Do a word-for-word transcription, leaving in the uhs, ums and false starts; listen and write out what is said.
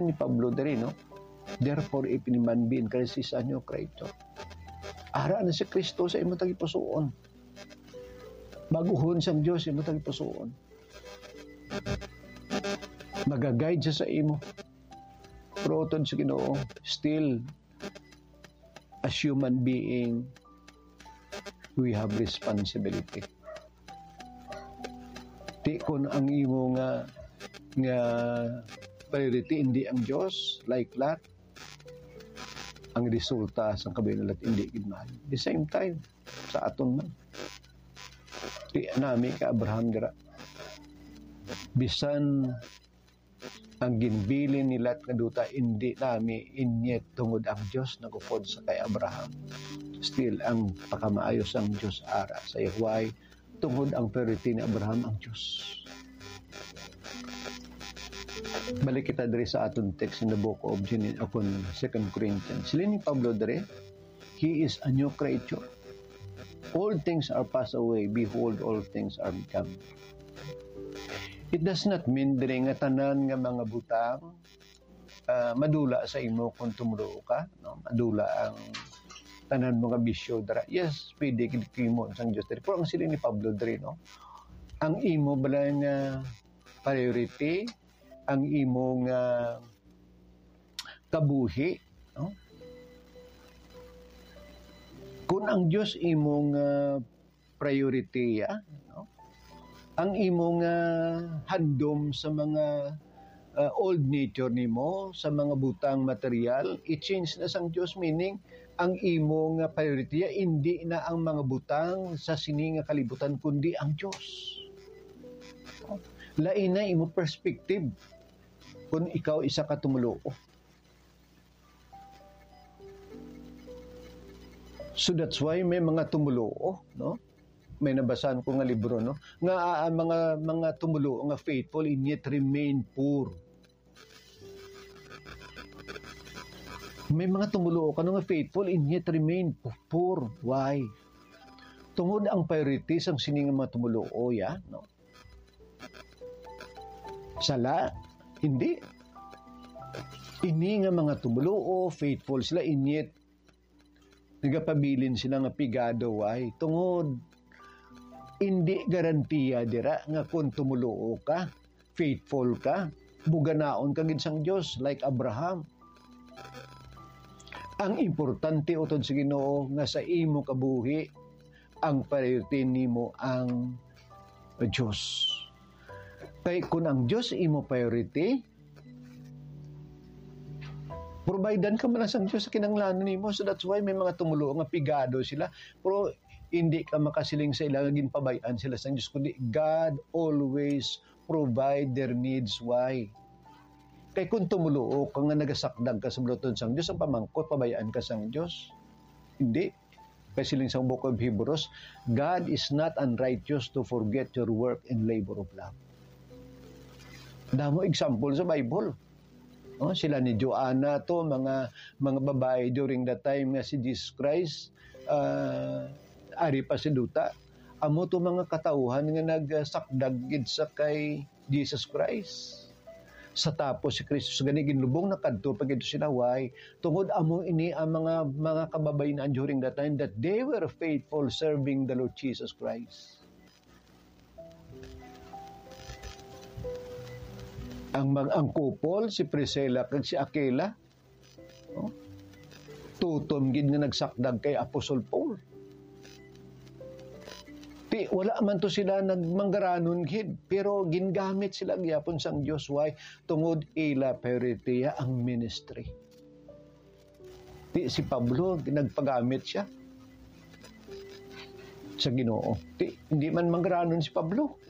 ni Pablo diri, no? "Therefore, if any man be in Christ, he is a new creature." Ara na si Kristo sa imo tagipusoon. Baguhon sang Dios imo tagipusoon. Magaguide siya sa imo. Pero utod sa Ginoo, still, as human being, we have responsibility. Ti kun ang imo nga, nga priority hindi ang Dios, like Lot, ang resulta sang kabuhi ni Lot hindi gid maayo. The same time, sa aton man. Ti nami kay Abraham dira. Bisan ang ginbilin ni Lot nga duta, indi nami inyet tungod ang Dios nagupod sa kay Abraham. Still, ang pakamaayo sang Dios ara sa iya. Why? Tungod ang priority ni Abraham ang Dios. Balik kita diri sa aton text in the book of Gen-, uh, kun Second Corinthians. Sila ni Pablo diri, "He is a new creature. All things are passed away. Behold, all things are become." It does not mean diri nga tanan nga mga butang, ah, madula sa imo kung tumuluo ka, no? Madula ang tanan mo nga bisyo dira. Yes, pwede gid kimo sang Dios diri. Pero ang siling ni Pablo diri, no? Ang imo bala nga priority, ang imo nga kabuhi, no? Kung ang Dios imo nga priority, ah, no? Ang imo nga handom sa mga, ah, old nature nimo, sa mga butang material, i-change na sang Dios, meaning ang imo nga priority, ah, indi na ang mga butang sa sini nga kalibutan, kundi ang Dios. Lain na imo perspective kung ikaw isa ka tumuluo. So that's why may mga tumuluo, no? May nabasahan ko nga libro, no? Nga, ah, mga, mga tumuluo nga faithful and yet remain poor. May mga tumuluo ka, no, nga faithful and yet remain po-, poor. Why? Tungod ang priority sang sini nga mga tumuluo, ya, no? Sala? Hindi. Ini nga mga tumuluo, faithful sila, inyit nagapabilin sila nga pigado. Why? Tungod, hindi garantiya dira nga kung tumuluo ka, faithful ka, buganaon ka gid sang Dios, like Abraham. Ang importante utod sa Ginoo nga sa imo kabuhi, ang priority nimo ang Dios. Kay kun ang Dios imo priority, providean ka man lang sang Dios sa kinahanglanon nimo. So that's why may mga tumuluo nga pigado sila, pero hindi ka makasiling sa ila nga ginpabay-an sila sang Dios, kundi God always provide their needs. Why? Kay kung tumuluo ka nga nagasakdag ka sa buluhaton sang Dios, ang pamangkot, pabay-an ka sang Dios? Hindi. Kay siling sa Book of Hebrews, "God is not unrighteous to forget your work and labor of love." Damo example sa Bible. Oh, sila ni Joanna to, mga, mga babayi during the time nga si Jesus Christ, ah, ari pa sa duta. Amo to mga katawuhan nga nagsakdag gid sa kay Jesus Christ. Sa tapos si Kristo gani ginlubong na kadto pa gid sa sinaway, tungod amo ini ang mga, mga kababayin-an during that time that they were faithful serving the Lord Jesus Christ. Ang mag-, ang couple, si Priscilla kag si Aquila, no? Tutom gid nga nagsakdag kay Apostol Paul. Ti, wala man to sila nagmanggaranon gid, pero gingamit sila gyapon sang Dios. Why? Tungod ila priority ang ministry. Ti, si Pablo, nagpagamit siya sa Ginoo. Ti, hindi man manggaranon si Pablo.